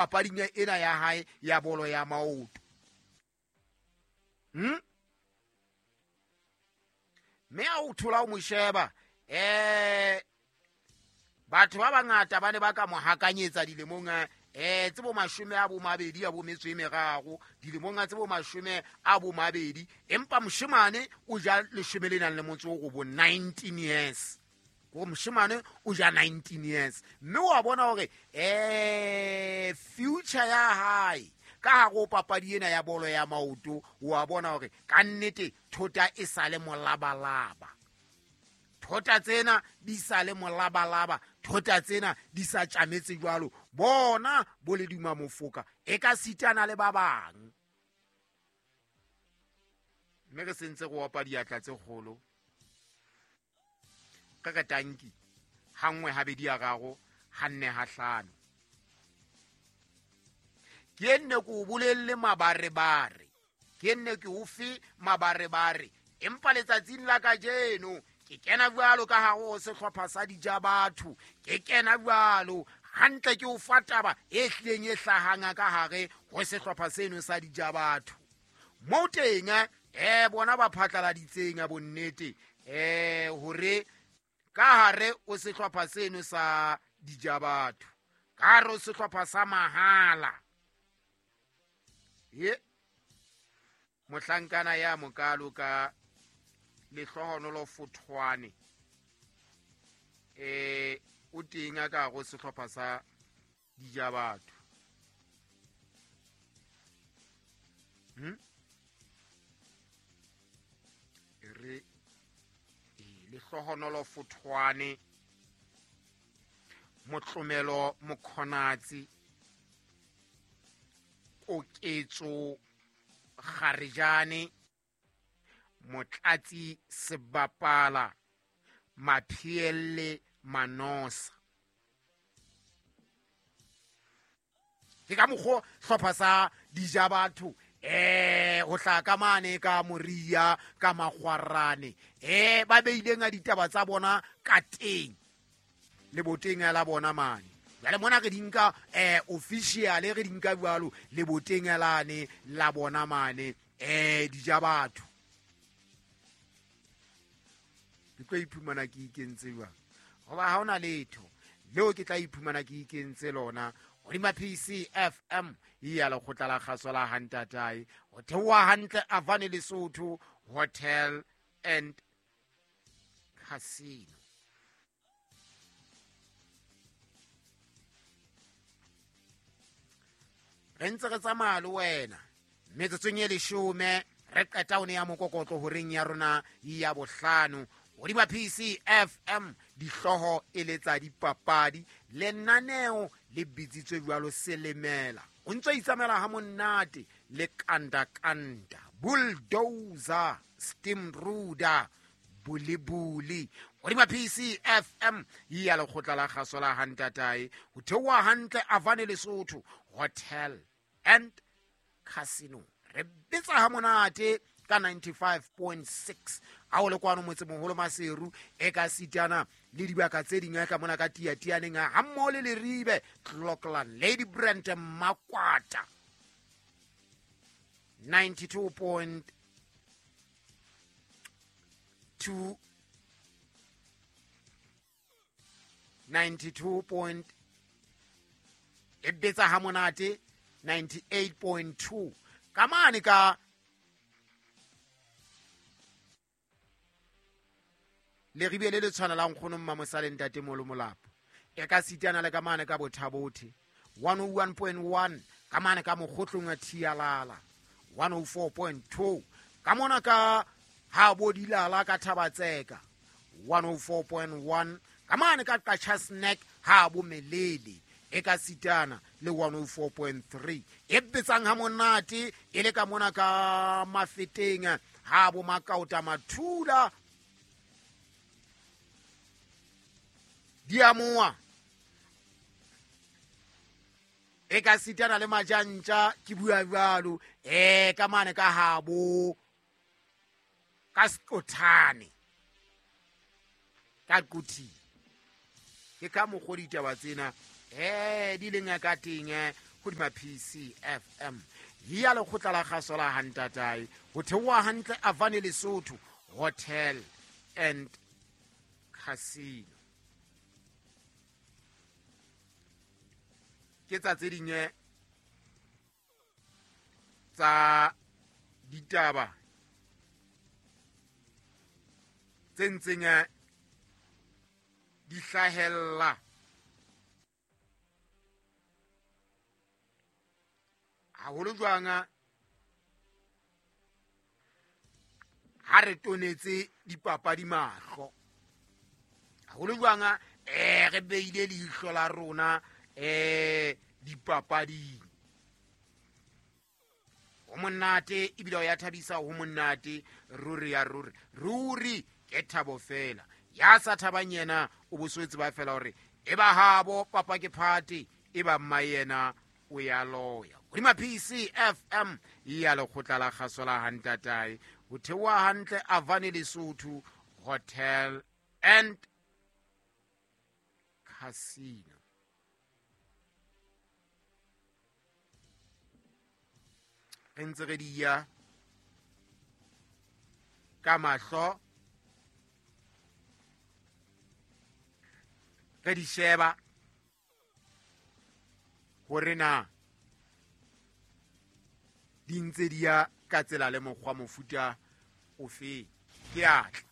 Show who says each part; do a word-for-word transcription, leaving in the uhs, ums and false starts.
Speaker 1: papading ena ya hae ya bolo ya maoto. Hmm? Mme a o thola o mo sheba eh batho ba bangata ba ne ba ka mo hakanyetsa dilemong eh tse bo mashome a bo mabedi a bo metso e meraro dilemong tse bo mashome a bo mabedi, empa moshemane o ja leshome le nang le motso o bo nineteen years. Go moshemane o ja nineteen years mme wa bona hore eh future ya hae ka ha go papadi ena ya bolo ya maoto, wa bona hore ka nnete thota e sale molabalaba. Thota tsena di sale molabalaba, thota tsena di sa tjametse jwalo. Bona bo le duma mofoka e ka sitana le ba bang. Mme re sentse go opa diatla tse kgolo. Ka ka tanki ha nngwe ha bedi ya raro ha nne ha hlano. Ke nne ko bolelle mabarebare, ke nne ke o fe mabarebare, empa letsatsing la kajeno ke kena jwalo ka hare ho sehlopha sa dija batho, ke kena jwalo hantle ke o fa taba e hlileng e hlahang ka hare ho sehlopha seno sa dija batho. Mo teng eh bona ba phatlaladitseng a bonnete eh hore ka hare o sehlopha seno sa dija batho, ka hare o sehlopha sa mahala. Ye mohlankana ya mokalo ka lehlohonolo Fothwane eh o teng a ka go sehlopha sa dija batho. Hm re lehlohonolo Fothwane, Motlomelo Mokhonatsi, Koketso Kgarejane, Motlatsi Sebapala, Maphielle Manosa. Ke ka mokgo hlopha sa dija batho eh ho hla ka mane ka Moria ka Makgwarane eh ba beileng a ditaba tsa bona ka teng le boteng la bona mane. Jwale mona re di nka eh official re di nka jwalo le boteng lane la bona mane eh dija batho. Ke tlo iphumana ke ikentse jwang hoba ha hona letho leo ke tla iphumana ke ikentse lona. Hodima P C F M ya lekgotla la kgaso la Hantatae ho theoha hantle Avane Lesotho Hotel and Casino. Re ntse re tsamaya le wena metsotsong e leshome re qeta ho ne ya mokokotlo horeng ya rona ya bohlano. Hodima P C F M dihlooho e le tsa dipapadi, lenaneo le bitsitswe jwalo Selemela. O ntse itsamela ha monate le kanda kanda, bulldozer, steamroller, bulibuli. Hodima P C F M ya lekgotla la kgaso la Hantatae ho theoha hantle Avane Lesotho Hotel and Casino. Re bitsa ha monate ka ninety-five point six a o le kwano motsemoholo Maseru e ka sitana le dibaka tse ding ka mona ka Tiatianeng ha mmoho le Leribe, Clockland, Lady Brand, Makwata. ninety-two point two ninety-two point e betsa ha monate ninety-eight point two ka mane ka Leribe le le tshwanelang kgono Mmamosale Ntate Molo Molapo e ka sitana le ka mane ka Bothabothe one oh one point one ka mane ka Mokgotlong a Thialala one oh four point two ka mona ka ha Bodilala ka Thabatseka one oh four point one ka mane ka Qacha Snack ha bo Melele e ka sitana le one oh four point three e betsang ha monate e le ka mona ka Mafeteng ha bo Makaota Mathula Diamoa e ka sitana le Majantja ke bua jwalo eh ka mane ka habo ka Sekothane ka Quthing. Ke ka mokgo ditaba tsena eh di leng ka teng hodima P C F M ya lekgotla la kgaso la Hantatae ho theoha hantle Avane Lesotho Hotel and Casino. Ke tsa tse ding tsa ditaba tse ntseng di hlahella haholo jwang ha re tonetse dipapadi mahlo, haholo jwang eh re beile leihlo la rona eh dipapading. Ho monate ebile o ya thabisa, ho monate ruri ya ruri ruri ke thabo fela. Ya sa thabang yena o boswetse ba fela hore e ba habo papa ke phate e ba mma yena o ya loya. Hodima P C F M ya lekgotla la kgaso la Hantatae ho theoha hantle Avane Lesotho Hotel and Casino. Re ntse re di ya ka mahlo, re di sheba hore na di ntse di ya ka tsela le mokgwa mofuta ofe. Ke atla.